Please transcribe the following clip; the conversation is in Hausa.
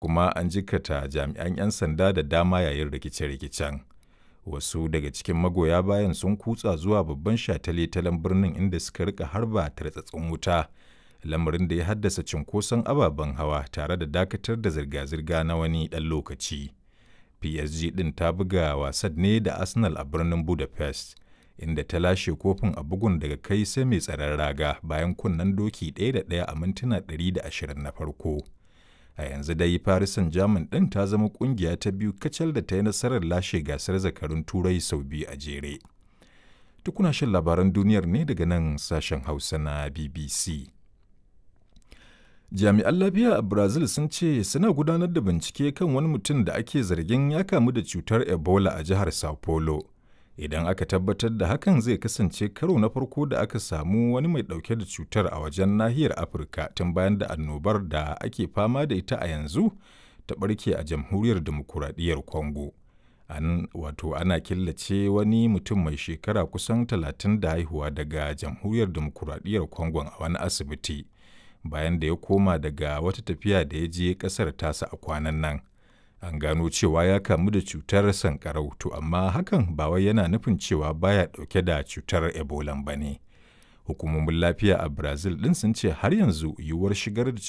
Kuma an jikkata jami'an 'yan sanda da dama yayin rikice-rikicen. Wasu daga cikin magoya bayan sun kutsa zuwa babban shataletalen birnin inda suka rika harba tartsatsin wuta, lamarin da ya haddasa cunkoson ababen hawa tare da dakatar da zirga-zirga na wani ɗan lokaci. PSG ɗin ta buga wasan ne da Arsenal a birnin Budapest, inda ta lashe kofin a bugun daga kai sai mai tsaron raga bayan kunnen doki 1 da 1 a mintuna 120 na farko. A yanzu dai Paris Saint-Germain ɗin ta zama ƙungiya ta biyu kacal da ta yi nasarar lashe gasar zakarun Turai sau biyu a jere. Tukuna shan labaran duniyar ne daga nan sashen Hausa na BBC. Jami'an lafiya a Brazil sun ce suna gudanar da bincike kan wani mutum da ake zargin ya kamu da cutar Ebola a jihar Sao Paulo. Idan aka tabbatar da hakan, zai kasance karo na farko da aka samu wani mai ɗauke da cutar a wajen nahiyar Afirka tun bayan da annobar da ake fama da ita a yanzu ta ɓarke a Jamhuriyar Dimokuraɗiyyar Congo. An wato ana killace wani mutum mai shekara kusan 30 da haihuwa daga Jamhuriyar Dimokuraɗiyyar Congo a wani asibiti, bayan da ya koma daga wata tafiya da ya je ƙasar tasa a kwanan nan. An gano cewa ya kamu da cutar sankarau, to amma hakan ba wai yana nufin cewa baya ɗauke da cutar Ebola ba ne. Hukumomin lafiya a Brazil ɗin sun ce har yanzu yiwuwar shigar da